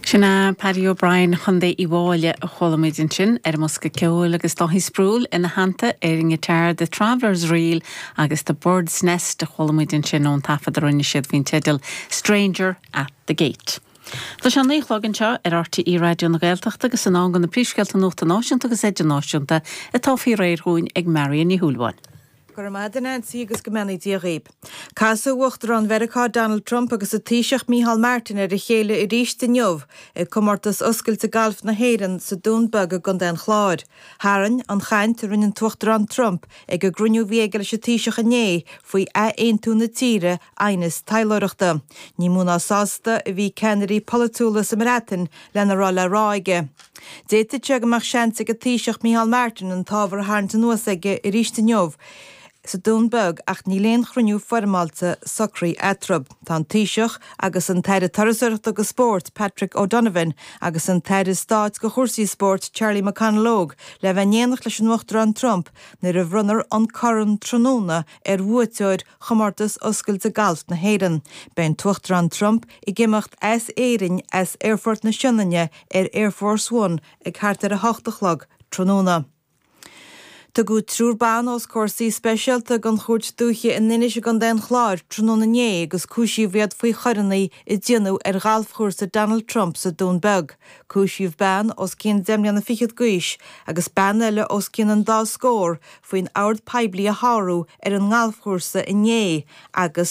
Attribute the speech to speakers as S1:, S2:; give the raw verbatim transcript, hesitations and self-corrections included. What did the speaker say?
S1: Sin é Paddy O'Brien Chontae Uíbh Fhailí a chuala muid ansin ar an mbosca ceoil agus Dáithí Sproule ina theannta ar an ngiotár The Traveller's Reel agus The Bird's Nest a chuala muid ansin ón taifead a rinne siad faoin teideal Stranger at the Gate. Tá sé naoi a chlog anseo ar RTÉ Raidió na Gaeltachta agus in am do na príomhscéalta nuachta náisiúnta agus idirnáisiúnta atá faoi réir dúinn ag Marion Ní Shúilleabháin.
S2: Go raibh maith agat Nancy agus go mbeannaí Dia dhaoibh. Casfaidh Uachtarán Mheiriceá Donald Trump agus an Taoiseach Micheál Martin ar a chéile arís inniu ag comórtas oscailte galf na hÉireann sa Dún Beag i gContae an Chláir. Tharraing an chaint a rinne an tUachtarán Trump ag an gcruinniú a bhí aige leis an Taoiseach inné faoi athaontú na tíre aighneas taidhleoireachta. Ní mó ná sásta a bhí ceannairí polaitiúla sa mBreatain lena raibh le rá aige. D'fhéadfadh sé go mbeadh seans ag an Taoiseach Micheál Martin an t-ábhar a tharraingt anuas aige arís inniu sa Dún Beag ach níl aon chruinniú foirmeálta socraithe eatarthu. Tá an Taoiseach agus an tAire Turasóireachta agus Spóirt Patrick O'Donovan agus an tAire Stáit do chúrsaí spóirt Charlie McConalogue le bheith in éineacht leis an Uachtarán Trump nuair a bhronnfar an corn tráthnóna ar bhuaiteoir chomórtas oscailte galf na hÉireann. Beidh an tUachtarán Trump ag imeacht as Éirinn as Aerfort na Sionainne ar Air Force One ag thart ar a hocht a chlog tráthnóna. Tugadh triúr ban os comhair suí speisialta den Chúirt Dúiche in Inis i gContae an Chláir tráthnóna inné agus cúisíodh iad faoi choireanna a déanadh ar ghalfchúrsa Donald Trump sa Dún Beag. Cúisíodh bean os cionn deich mbliana fichead d'aois agus bean eile os cionn an dá scór faoin ord poiblí a shárú ar an ngalfchúrsa inné agus